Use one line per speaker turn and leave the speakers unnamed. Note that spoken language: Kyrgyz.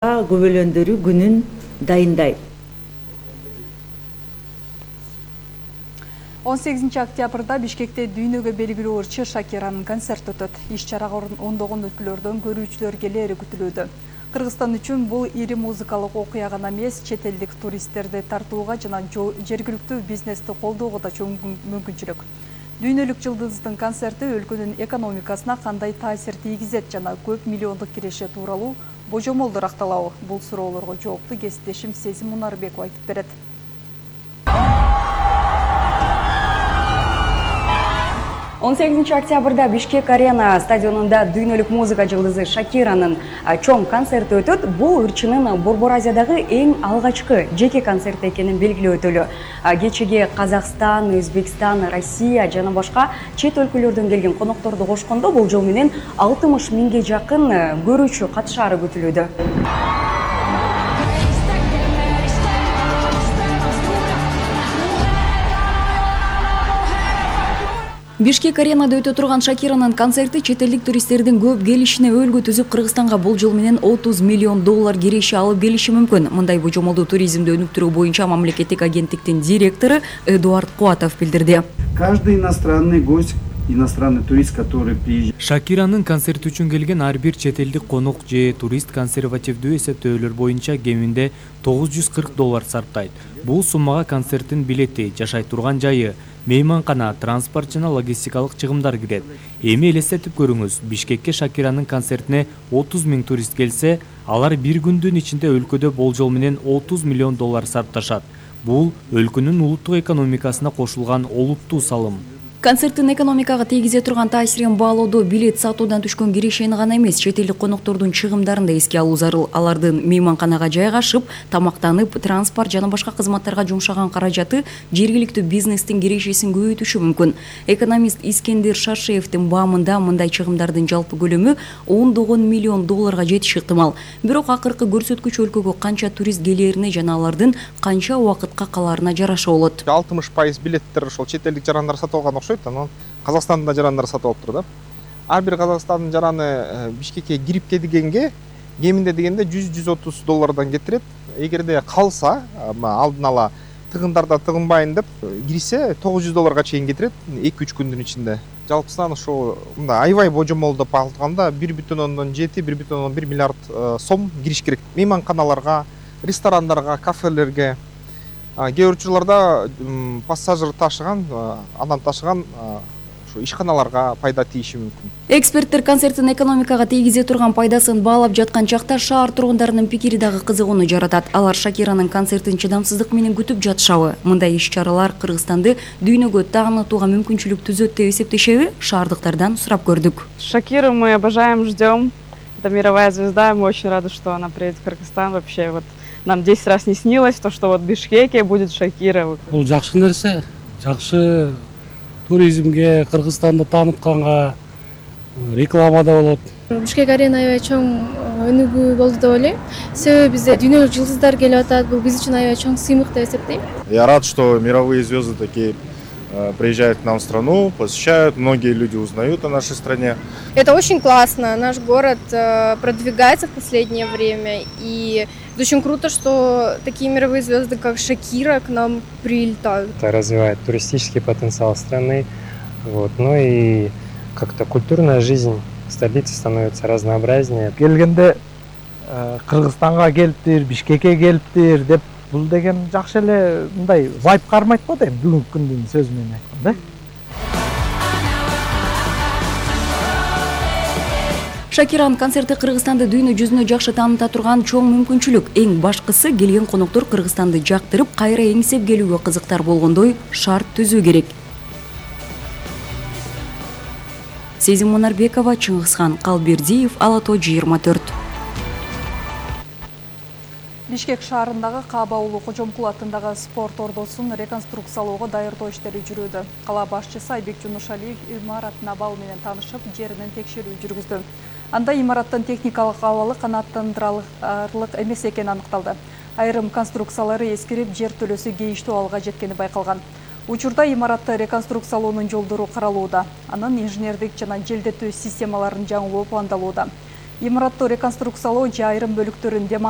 көбөлөндөрү күнүн дайындайт.
18 октябрда Бишкекте дүйнөгө белгилүү ырчы Шакиранын концерти өтөт. Иш-чарага ондогон өлкөлөрдөн көрүүчүлөр келери күтүлүүдө. Кыргызстан үчүн бул ири музыкалык окуя гана эмес, чет элдик туристтерди тартууга жана жергиликтүү бизнести колдоого да чоң мүмкүнчүлүк. Дүйнөлүк жылдыздын концерти өлкөнүн экономикасына кандай таасир тийгизет жана көп миллиондук киреше тууралуу божомолдор акталабы? Бул суроолорго жоопту кесиптешим Сезим Мунарбекова айтып берет. 18 октябрда Бишкек арена стадионунда дүйнөлүк музыка жылдызы Шакиранын чоң концерти өтөт. Бул ырчынын Борбор Азиядагы эң алгачкы жеке концерти экенин белгилеп өтөлү. Кечеге Казакстан, Өзбекстан, Россия жана башка чет өлкөлөрдөн келген конокторду кошкондо болжол менен 60 миңге жакын көрүүчү катышаары күтүлүүдө. Бишкек аренада өтө турган Шакиранын концерти чет элдик туристтердин көп келишине өөлгө түзүп, Кыргызстанга болжол менен 30 миллион доллар киреше алып келиши мүмкүн. Мындай божомолду туризмди өнүктүрүү боюнча мамлекеттик агенттиктин директору Эдуард Куатов билдирди.
Каждый иностранный гость, иностранный турист, который приезжает.
Шакиранын концерти үчүн келген ар бир чет элдик конок же турист консервативдүү эсептөөлөр боюнча кеминде $940 сарптайт. Бул суммага концерттин билети, жашай турган жайы, мейманкана, транспорт жана логистикалык чыгымдар кирет. Эми элестетип көрүңүз, Бишкекке Шакиранын концертине 30 миң турист келсе, алар бир күндүн ичинде өлкөдө болжол менен 30 миллион доллар сарпташат. Бул өлкөнүн улуттук экономикасына кошулган олуттуу салым.
Концерттин экономикага тийгизе турган таасирин баалоодо билет сатуудан түшкөн кирешени гана эмес, чет элдик коноктордун чыгымдарын да эске алуу зарыл. Алардын мейманканага жайгашып, тамактанып, транспорт жана башка кызматтарга жумшаган каражаты жергиликтүү бизнестин кирешесин көбөйтүшү мүмкүн. Экономист Искендер Шашеевдин баамында мындай чыгымдардын жалпы көлөмү 10 миллион долларга жетиши ыктымал. Бирок акыркы көрсөткүч өлкөгө канча турист келерине жана алардын канча убакытка калаарына жараша болот.
60% билеттер ошол чет элдик жарандар сатып алган окшойт. Казакстандын да жарандар сатып алып тур да. Ар бир Казакстандын жараны Бишкекке кирип келгенге кеминде дегенде $100-130 кетирет. Эгерде калса, алдын ала тыгындарда тыгынбайын деп кирсе $900 чейин кетирет 2-3 күндүн ичинде. Жалпысынан ошо мындай аябай божомол деп алганда 1,7-1,1 миллиард сом кириш керек. Мейманканаларга, ресторандарга, кафелерге, кээ бир учурларда пассажир ташыган, адам ташыган ушу ишканаларга пайда тийиши мүмкүн.
Эксперттер концерттин экономикага тийгизе турган пайдасын баалап жаткан чакта шаар тургундарынын пикири дагы кызыгууну жаратат. Алар Шакиранын концертин чыдамсыздык менен күтүп жатышабы? Мындай иш-чаралар Кыргызстанды дүйнөгө таанытууга мүмкүнчүлүк түзөт деп эсептешеби? Шаардыктардан сурап көрдүк.
Шакиру мы обожаем, ждем. Это мировая звезда, мы очень рады, что она приедет в Кыргызстан. Вообще вот нам 10 раз не снилось то, что вот в Бишкеке будет Шакира.
Бул жакшы нерсе, жакшы туризмге, Кыргызстанды таанытканга рекламада болот.
Бишкек арена аябай чоң өнүгүү болду деп ойлойм. Себеби бизде дүйнөлүк жылдыздар келип атат. Бул биз үчүн аябай чоң сыймык деп эсептейм.
Я рад, что мировые звезды такие приезжают к нам в страну, посещают, многие люди узнают о нашей стране.
Это очень классно. Наш город продвигается в последнее время, и это очень круто, что такие мировые звезды, как Шакира, к нам прилетают.
Это развивает туристический потенциал страны, вот. Ну и как-то культурная жизнь столицы становится разнообразнее.
Келгенде Кыргызстанга келиптир, Бишкекке келиптир деп бул деген жакшы эле мындай вайп кармайт го дейм бүгүнкү күндүн сөзү менен айтканда.
Шакиранын концерти Кыргызстанды дүйнө жүзүнө жакшы тааныта турган чоң мүмкүнчүлүк. Эң башкысы келген коноктор Кыргызстанды жактырып, кайра эңсеп келүүгө кызыктар болгондой шарт түзүү керек. Сезим Мунарбекова, Чыңгызхан Калбердиев, Ала Тоо 24. Бишкек шаарындагы Кааба уулу Кожомкул атындагы спорт ордосун реконструкциялоого даярдоо иштери жүрүүдө. Кала башчысы Айбек Жунушалиев имараттын абалы менен таанышып, жеринен текшерүү жүргүздү. Анда имараттын техникалык абалы канааттандырарлык эмес экени аныкталды. Айрым конструкциялары эскирип, жер төлөсү кейиштүү абалга жеткени байкалган. Учурда имаратты реконструкциялоонун жолдору каралууда. Анын инженердик жана желдетүү системаларын жаңылоо пландалууда.
Имаратты реконструкциялоо же айрым бөлүктөрүн демонтаж